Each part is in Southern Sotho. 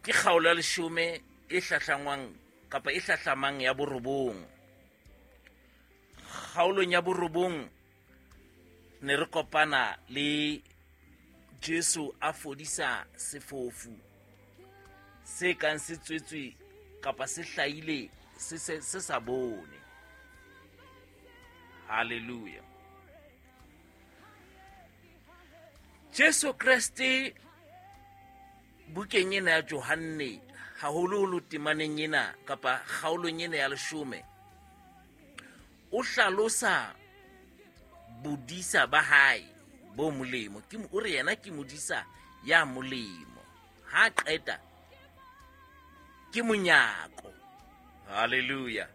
Ke kgaolo ya leshome e hlahlangwang kapa e hlahlamang ya borobong. Kgaolong ya borobong ne re kopana le Jesu a fodisa sefofu se kang se tswetswe kapa se hlahile se se sa bone. Hallelujah. Jesu Kreste bukeng ena ya Johanne haholoholo temaneng ena kapa kgaolong ena ya leshome o hlalosa bodisa ba hae bo molemo. Ke o re yena ke modisa ya molemo. Ha qeta ke monyako. Hallelujah.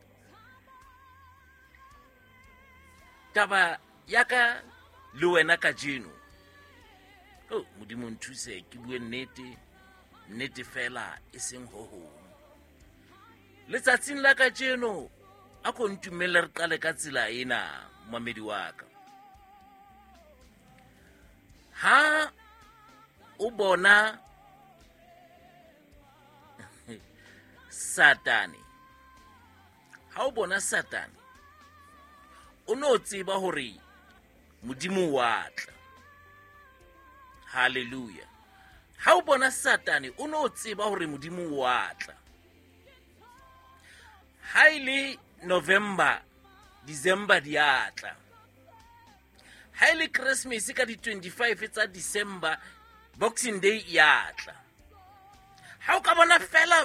Taba ya ka le wena kajeno, oh Modimo nthuse ke bue nnete, nnete fela e seng ho hong. Letsatsing la kajeno a ko ntumelle re qale ka tsela ena, momamedi wa ka. Ha o bona Satane, ha o bona Satane, o no tseba hore Modimo wa tla. Hallelujah. Ha o bona Satane, o no tseba hore Modimo wa tla. Ha e le November, December di a tla. Ha e le Christmas ka di 25 tsa December, Boxing Day ya tla. Ha o ka bona fela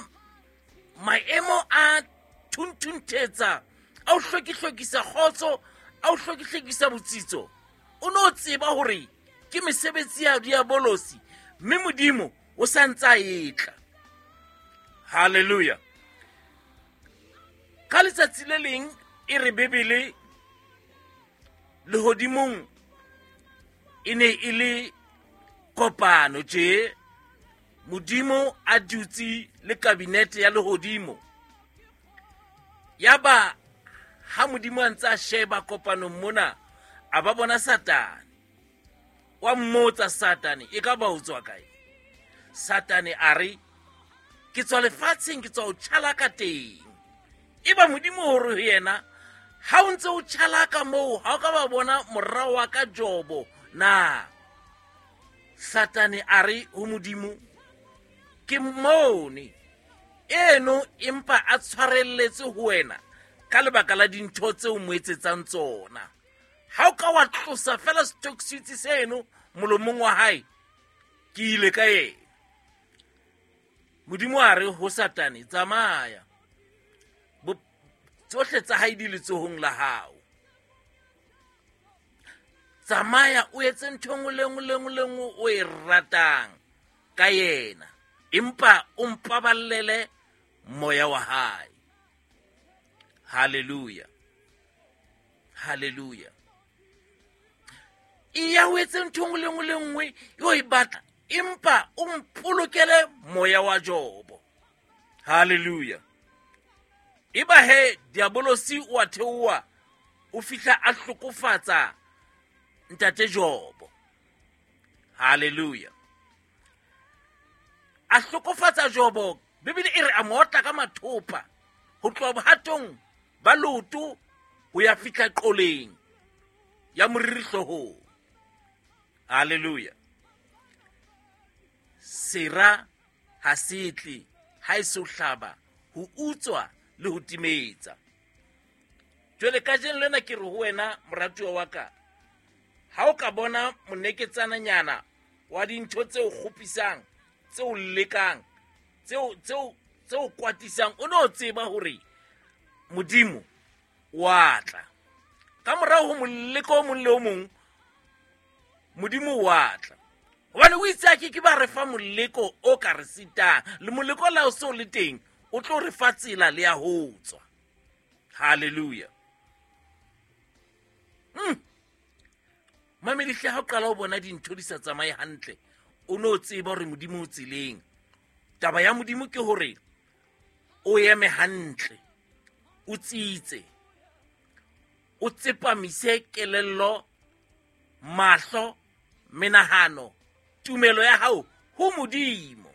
maemo a thunthuthetsa, a o hlokihlokisa kgotso, a o hlokihlokisa botsitso, o no tseba hore ke mesebetsi ya diabolosi, mme Modimo o sa ntse a etla. Hallelujah. Ka letsatsi le leng e re Bibele lehodimong e ne e le kopano tje, Modimo a dutse le kabinete ya lehodimo. Yaba ha Modimo a ntse a sheba kopanong mona, a ba bona Satane. Wa mmotsa Satane, e ka ba o tswa kae? Satane a re, ke tswa lefatsheng, ke tswa ho tjhalaka teng. Eba Modimo hore ho yena, ha o ntse o tjhalaka moo, ha o ka ba bona mora wa ka Jobo na? Satane a re ho Modimo, ke mmone eno empa a tshwarelletse ho wena ka lebaka la dintho tseo mo etsetsang tsona. Ha o ka wa tlosa fela setoksitsi seno molomong wa hae, ke ile ka yena. Modimo a re ho Satane, tsamaya, tsohle tsa hae di letsohong la hao. Tsamaya o etse ntho nngwe le nngwe le nngwe le nngwe o e ratang ka yena, empa o mpaballele moya wa hae. Hallelujah. Hallelujah. Eya o etse ntho nngwe le nngwe le nngwe e o e batla, empa o mpolokele moya wa Jobo. Hallelujah. Eba he diabolosi o a theoha, o fihla a hlokofatsa ntate Jobo. Hallelujah. A hlokofatsa Jobo, Bibele e re a mo otla ka mathopa ho tloha bohatong ba leoto ho ya fihla qoleng ya moriri hloohong. Hallelujah. Sera ha se tle ha e so hlaba ho utswa le ho timetsa. Jwale kajeno lena ke re ho wena moratuwa wa ka, ha o ka bona moneketsananyana wa dintho tse o kgopisang, tse o lekang, tse o kwatisang, o no tseba hore Modimo wa tla. Ka morao ho moleko o mong le o mong, Modimo wa tla. Hobane o itse a ke ke ba re fa moleko o ka re sitang, le moleko la o se o le teng, o tlo re fa tsela le ya ho tswa. Hallelujah. Mamedihle, ha o qala ho bona dintho di sa tsamaye hantle, o no tseba hore Modimo o tseleng. Taba ya Modimo ke hore o eme hantle, o tsitse, o tsepamise kelello, mahlo, menahano, tumelo ya hao ho Modimo.